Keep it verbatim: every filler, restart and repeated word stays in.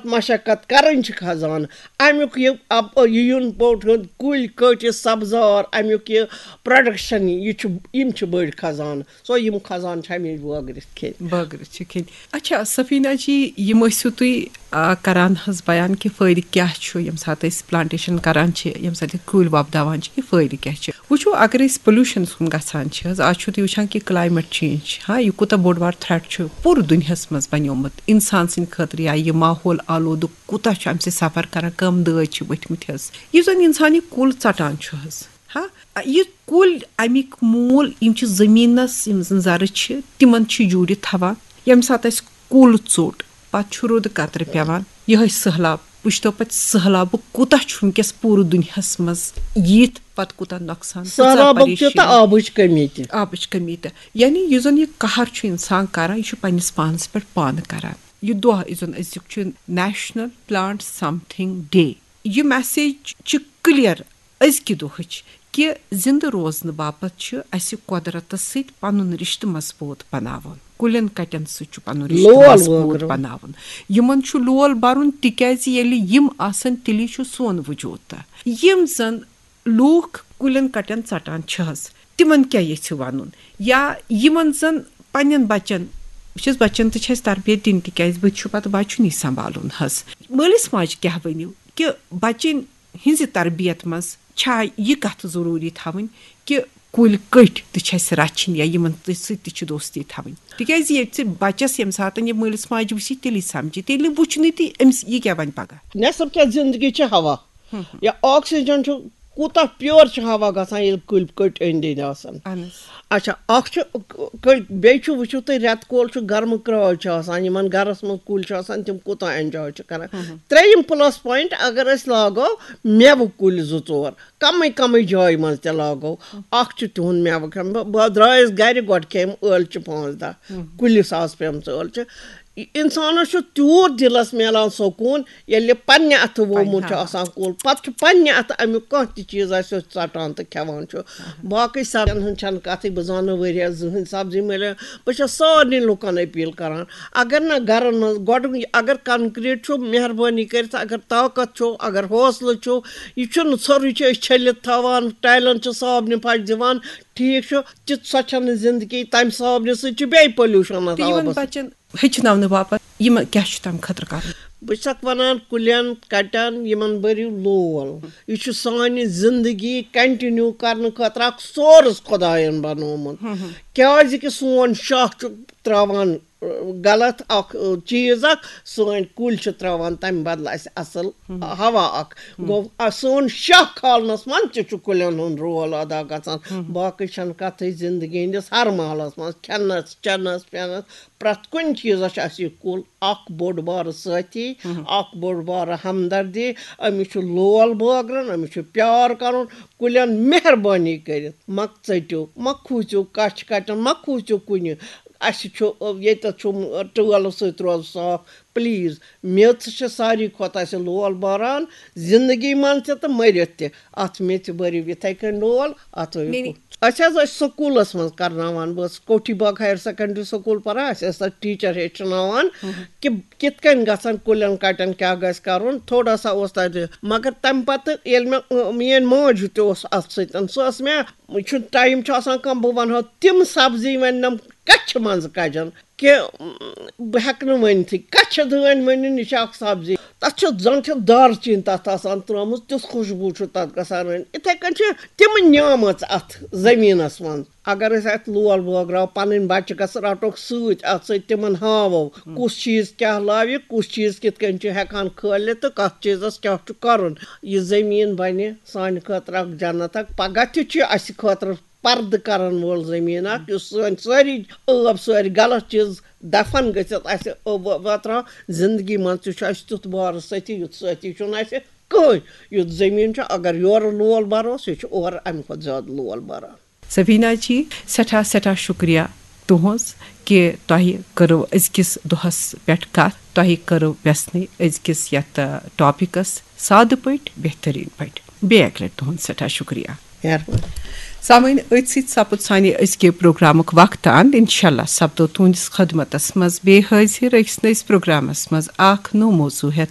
مشقت کرٕنۍ چھِ خزانہٕ۔ اَمیُک یہِ اَپ-، یہِ یُن پوٚٹ ہیوٚن، کُلۍ کٔٹۍ، یہِ سبزار، اَمیُک یہِ پروڈکشن، یہِ چھُ، یِم چھِ بٔڑۍ خزانہٕ۔ سو یِم خزانہٕ چھِ ہمیشہِ بٲگرِتھ کھیٚنۍ۔ بٲگرِتھ چھِ کھیٚنۍ۔ اچھا، سفیٖنہ جی، یِم ٲسِو تُہۍ، آ، کران حظ بیان کہِ فٲیدٕ کیٛاہ چھُ ییٚمہِ ساتہٕ أسۍ پلانٹیشن کران چھِ، ییٚمہِ ساتہٕ أسۍ کُلۍ وۄپداوان چھِ، یہِ فٲیدٕ کیٛاہ چھُ؟ وٕچھو، اگر أسۍ پولیوشنس کُن گژھان چھِ حظ، آز چھُو تُہۍ وٕچھان کہِ کلایمیٹ چینج چھِ، ہاں، یہِ کوٗتاہ بوٚڑ بار تھریٹ چھُ پوٗرٕ دُنیاہس منٛز بنیومُت انسان سٕنٛدِ خٲطرٕ، یا یہِ ماحول آلودٕ کوٗتاہ چھُ امہِ سۭتۍ سفر کران، کم دٲدۍ چھِ ؤتھمٕتۍ حظ۔ یُس زن انسان یہِ کُل ژٹان چھُ حظ، ہاں، یہِ کُلۍ، امیِکۍ موٗل، یِم چھِ زٔمیٖنَس، یِم زَن زَرٕ چھِ، تِمَن چھِ جوٗڑِتھ تھاوان۔ ییٚمہِ ساتہٕ اَسہِ کُل ژوٚٹ، پَتہٕ چھُ روٗدٕ قطرٕ پٮ۪وان، یِہوٚے سٔہلاب۔ وٕچھتو پَتہٕ سٔہلابُک کوٗتاہ چھُ وٕنکیٚس پوٗرٕ دُنیاہَس منٛز ییٖتھ، پَتہٕ کوٗتاہ نۄقصان، کۭژاہ سٔہلابُک تہِ تہٕ پریشٲنی۔ آبٕچ کٔمی تہِ۔ آبٕچ کٔمی تہِ۔ یعنی یُس زَن یہِ قہر چھُ اِنسان کَران، یہِ چھُ پنٛنِس پانَس پٮ۪ٹھ پانہٕ کَران۔ یہِ دۄہ یُس زَن أزیُک چھُ National Plant Something Day۔ یہِ message چھِ clear أزکہِ دۄہٕچ کہِ زِندٕ روزنہٕ باپتھ چھِ اَسہِ قۄدرَتَس سۭتۍ پَنُن رِشتہٕ مضبوٗط بَناوُن، کُلٮ۪ن کَٹٮ۪ن سۭتۍ چھُ پَنُن رِشتہٕ لول مضبوٗط بٲگراوُن۔ بَناوُن۔ یِمَن چھُ لول بَرُن، تِکیٛازِ ییٚلہِ یِم آسَن، تیٚلی چھُ سون وجوٗد تہٕ۔ یِم زَن لوٗکھ کُلٮ۪ن کَٹٮ۪ن ژَٹان چھِ حظ، تِمَن کیٛاہ ییٚژھِو وَنُن؟ یا یِمَن زَن پنٛنٮ۪ن بَچَن، بہٕ چھَس بَچَن تہِ چھِ اَسہِ تربیت دِنۍ، تِکیٛازِ بہٕ تہِ چھُ پَتہٕ بَچُن یہِ سنٛبھالُن حظ۔ مٲلِس ماجہِ کیٛاہ ؤنِو کہِ بَچَن ہِنٛزِ تربیت منٛز چھا یہِ کَتھ ضروٗری تھاوٕنۍ کہِ کُلۍ کٔٹۍ تہِ چھِ اَسہِ رَچھِنۍ یا یِمَن تہِ سۭتۍ تہِ چھِ دوستی تھاوٕنۍ؟ تِکیٛازِ ییٚلہِ ژٕ بَچَس ییٚمہِ ساتہٕ یہِ مٲلِس ماجہِ وٕچھی، تیٚلی سَمجھی، تیٚلہِ وٕچھنٕے تہِ أمِس یہِ کیٛاہ وَنہِ پَگاہ۔ نٮ۪صٕف کیٛاہ زِندگی چھِ ہوا۔ یا آکسیجن چھُ کوٗتاہ پیور چھُ ہوا گژھان، ییٚلہِ کُلۍ کٔٹۍ أنٛدۍ أنٛدۍ آسان۔ اہن حظ۔ اچھا، اکھ چھُ ک-، ک-، بیٚیہِ چھُ وٕچھِو تُہۍ، رٮ۪تہٕ کول چھُ گرمہٕ کرٛاے چھُ آسان، یِمن گرس منٛز کُلۍ چھِ آسان، تِم کوٗتاہ enjoy چھِ کران۔ ہم۔ ترٛیٚیِم plus point، اگر أسۍ لاگو مٮ۪وٕ کُلۍ زٕ ژور، کمٕے کمٕے جایہِ منٛز تہِ لاگو، اکھ چھُ تِہُنٛد مٮ۪وٕ کھٮ۪وان۔ بہٕ، بہٕ درٛایس گرِ، گۄڈٕ کھیٚیِم ٲلچہِ پانٛژھ دَہ، ہم۔ کُلِس آسہٕ پیمژٕ ٲلچہِ۔ انسانس چھُ تیوٗت دِلس میلان سکوٗن، ییٚلہِ پننہِ اتھٕ وومُت چھُ آسان کُل، پتہٕ چھُ پننہِ اتھٕ امیُک کانٛہہ تہِ چیٖز آسہِ، یُس ژٹان تہٕ کھٮ۪وان چھُ۔ باقٕے سبزین ہٕنٛز چھنہٕ کتھٕے، بہٕ زانہٕ نہٕ ؤریس زٕہٕنۍ سبزی مِلہِ۔ بہٕ چھَس سارنٕے لُکن اپیل کران، اگر نہٕ گرن منٛز گۄڈٕ، اگر concrete چھُ، مہربٲنی کٔرِتھ، اگر طاقت چھُ، اگر حوصلہٕ چھُ، یہِ چھُنہٕ ژھورُے چھِ أسۍ چھٔلِتھ تھاوان، ٹایلن چھِ صابنہِ پھش دِوان، ٹھیٖک چھُ، تہِ سۄ چھنہٕ زندگی، تمہِ صابنہِ سۭتۍ چھُ بیٚیہِ پولیوشن تہٕ یِمن آبس۔ بچن ہیٚچھناونہٕ باپتھ یِمن کیٛاہ چھُ تَمہِ خٲطرٕ کَرُن؟ بہٕ چھَکھ وَنان، کُلٮ۪ن کَٹٮ۪ن یِمَن بٔرِو لول۔ یہِ چھُ سانہِ زِندگی continue کَرنہٕ خٲطرٕ اَکھ source خۄدایَن بَنومُت۔ کیٛازِ کہِ سون شاہ چھُ ترٛاوان، ٲ، غلط اَکھ، ٲ، چیٖز اَکھ، سٲنۍ کُلۍ چھِ ترٛاوان تَمہِ بدلہٕ اَسہِ اَصٕل ہوا اَکھ۔ گوٚو، اَ، سون شاہ کھالنَس منٛز تہِ چھُ کُلٮ۪ن ہُنٛد role ادا گژھان۔ باقٕے چھَنہٕ کَتھٕے، زِندگی ہٕنٛدِس ہر محلَس منٛز، کھٮ۪نَس، چٮ۪نَس، پٮ۪نَس، پرٛٮ۪تھ کُنہِ چیٖزَس چھُ اَسہِ یہِ کُل اَکھ بوٚڑ بارٕ سٲتھی، اَکھ بوٚڑ بارٕ ہمدردی۔ أمِس چھُ لول بٲگرُن، أمِس چھُ پیار کَرُن۔ کُلٮ۪ن مہربٲنی کٔرِتھ مہ ژٔٹِو، مہ کھوٗژِو کَچھِ کَٹٮ۪ن، مہ کھوٗژِو کُنہِ۔ اَسہِ چھُ، ییٚتٮ۪تھ چھُ ٹٲلہٕ سۭتۍ روزُن صاف۔ Please، میٚژ چھِ ساروی کھۄتہٕ اَسہِ لول باران، زِندگی منٛز تہِ تہٕ مٔرِتھ تہِ۔ اَتھ میٚژِ بٔرِو یِتھَے کٔنۍ لول، اَتھ ہٲیِو۔ أسۍ حظ ٲسۍ سکوٗلَس منٛز کرناوان، بہٕ ٲسٕس کوٹھی باغ higher secondary school پران، اَسہِ ٲسۍ تَتہِ teacher ہیٚچھناوان کہِ کِتھ کٔنۍ گژھن کُلٮ۪ن کَٹٮ۪ن کیٛاہ گژھِ کَرُن، تھوڑا سا اوس تَتہِ۔ مگر تَمہِ پَتہٕ ییٚلہِ مےٚ، ٲ، میٛٲنۍ ماجہِ تہِ اوس اَتھ سۭتۍ، سُہ ٲس مےٚ، چھُ time چھُ آسان کَم، بہٕ وَنہٕ ہا تِم سبزی وۄنۍ نَم کَچھِ منٛز کَجَن کہِ، م، بہٕ ہٮ۪کہٕ نہٕ ؤنتھٕے، کَچھِ دٲنۍ ؤنِو، یہِ چھِ اَکھ سبزی۔ تَتھ چھِ زَن چھِ دارچیٖن تَتھ آسان ترٛٲومٕژ، تیُتھ خوشبوٗ چھُ تَتھ گژھان۔ وۄنۍ یِتھَے کٔنۍ چھِ تِمہٕ نعمژ اَتھ زٔمیٖنَس منٛز۔ اگر أسۍ اَتھ لول بٲگراو، پَنٕنۍ بَچہٕ گژھٕ رَٹوکھ سۭتۍ، اَتھ سۭتۍ تِمَن ہاوو، کُس چیٖز کیٛاہ لاوِ، کُس چیٖز کِتھ کٔنۍ چھُ ہٮ۪کان کھٲلِتھ تہٕ کَتھ چیٖزَس کیٛاہ چھُ کَرُن۔ یہِ زٔمیٖن بَنہِ سانہِ خٲطرٕ اَکھ جنت اَکھ۔ پَگاہ تہِ چھُ اَسہِ خٲطرٕ پردٕ کرن وول زٔمیٖن اکھ، یُس سٲنۍ سٲری ٲب، سٲری غلط چیٖز دفن گٔژھِتھ اَسہِ ٲب وتران۔ زندگی منٛز تہِ چھُ اَسہِ تیُتھ وارٕ سٲتھی، یُتھ سٲتھی چھُنہٕ اَسہِ کٕہٕنۍ۔ یُتھ زٔمیٖن چھُ، اگر یورٕ لول بروس، یہِ چھُ اورٕ اَمہِ کھۄتہٕ زیادٕ لول بران۔ سفیٖنہ جی، سٮ۪ٹھاہ، سٮ۪ٹھاہ شُکریہ تُہٕنٛز کہِ تۄہہِ کٔرٕو أزکِس دۄہس پٮ۪ٹھ کتھ، تۄہہِ کٔرٕو وٮ۪ژھنٕے أزکِس یتھ، آ، ٹاپکس سادٕ پٲٹھۍ، بہتریٖن پٲٹھۍ۔ بیٚیہِ اکہِ لٹہِ تُہُنٛد سٮ۪ٹھاہ شُکریہ۔ مہربٲنی۔ سامعین، أتھۍ سۭتۍ سپُد سانہِ أزکہِ پروگرامُک وقت اند۔ انشاءاللہ سپدو تُہنٛدِس خدمتس منٛز بیٚیہِ حٲضِر أکِس نٔوِس پروگرامس منٛز اکھ نوٚو موضوع ہٮ۪تھ۔